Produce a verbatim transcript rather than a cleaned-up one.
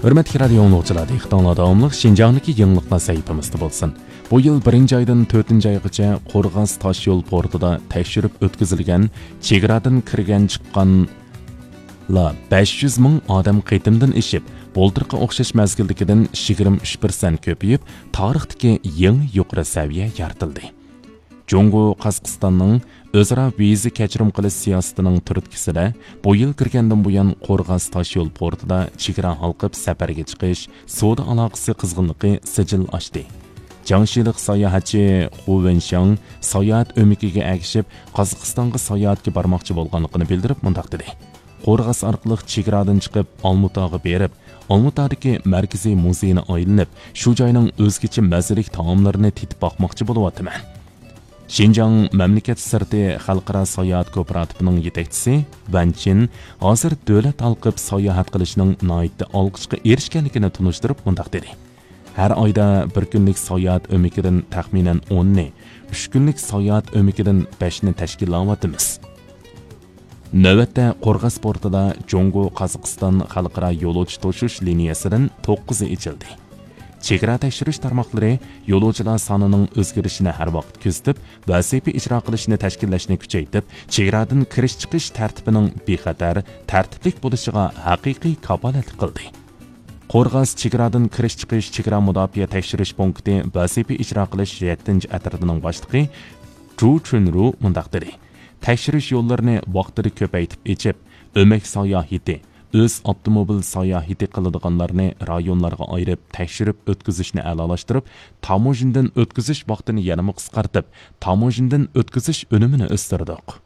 ھۆرمەتلىك رادىئو ئاڭلىغۇچىلار، دىققىتىڭلاردا داۋاملىق شىنجاڭدىكى يېڭىلىقلار سەھىپىمىزدە بولسۇن. بۇ يىل بىرىنچى ئايدىن تۆتىنچى ئايغىچە قورغاس تاشيول پورتىدا تەكشۈرۈپ ئۆتكۈزۈلگەن چېگرادىن كىرگەن چىققانلار بەش يۈز مىڭ ئادەم قېتىمدىن ئېشىپ، بۇلتۇرقى ئوخشاش مەزگىلدىكىدىن يىگىرمە ئۈچ پىرسەنت كۆپىيىپ، تارىختىكى يېڭى يۇقىرى سەۋىيە يارىتىلدى. جۇڭگو قازاقىستاننىڭ ئۆزئارا ۋىزا كەچۈرۈم قىلىش سىياسىتىنىڭ تۈرتكىسىدە، بۇ يىل كىرگەندىن بۇيان قورغاس تاشيول پورتىدا چېگرا ھالقىپ سەپەرگە چىقىش، سودا ئالاقىسى قىزغىنلىقى سىجىل ئاشتى. جاڭشىلىق ساياھەتچى خۇ ۋېنشياڭ ساياھەت ئۆمىكىگە ئەگىشىپ، قازاقىستانغا ساياھەتكە بارماقچى بولغانلىقىنى بىلدۈرۈپ، مۇنداق دېدى: قورغاس ئارقىلىق چېگرادىن چىقىپ، ئالمۇتاغا بېرىپ، ئالمۇتادىكى مەركىزىي مۇزېينى ئايلىنىپ، شۇ جاينىڭ ئۆزگىچە مەززىلىك تائاملىرىنى تېتىپ باقماقچى بولۇۋاتىمەن. شىنجاڭ مەملىكەت سىرتى خەلقئارا ساياھەت كوپىراتىپىنىڭ يېتەكچىسى ۋەن چىن ھازىر دۆلەت ھالقىپ ساياھەت قىلىشنىڭ ناھايىتى ئالقىشقا ئېرىشكەنلىكىنى تونۇشتۇرۇپ، مۇنداق دېدى: ھەر ئايدا بىر كۈنلۈك ساياھەت ئۆمىكىدىن تەخمىنەن ئوننى، ئۈچ كۈنلۈك ساياھەت ئۆمىكىدىن بەشنى تەشكىللەۋاتىمىز. نۆۋەتتە قورغاس پورتىدا جۇڭگو قازاقىستان خەلقئارا يولۇچى توشۇش لىنىيەسىدىن توققۇزى ئېچىلدى. چېگرا تەكشۈرۈش تارماقلىرى يولۇچىلار سانىنىڭ ئۆزگىرىشىنى ھەر ۋاقىت كۆزىتىپ، ۋەزىپە ئىجرا قىلىشنى تەشكىللەشنى كۈچەيتىپ، چېگرادىن كىرىش چىقىش تەرتىپىنىڭ بىخەتەر، تەرتىپلىك بولۇشىغا ھەقىقىي كاپالەتلىك قىلدى. قورغاس چېگرادىن كىرىش چىقىش چېگرا مۇداپىئە تەكشۈرۈش پونكىتى ۋەزىپە ئىجرا قىلىش يەتتىنچى ئەترىتىنىڭ باشلىقى جۇ چۈنرۇ مۇنداق دېدى: تەكشۈرۈش يوللىرىنى ۋاقتىدا كۆپەيتىپ ئېچىپ، ئۆمەك ساياھىتى، ئۆز ئاپتوموبىل ساياھىتى قىلىدىغانلارنى رايونلارغا ئايرىپ، تەكشۈرۈپ ئۆتكۈزۈشنى ئەلالاشتۇرۇپ، تاموژنىدىن ئۆتكۈزۈش ۋاقتىنى يەنىمۇ قىسقارتىپ، تاموژنىدىن ئۆتكۈزۈش ئۈنۈمىنى ئۆستۈردۇق.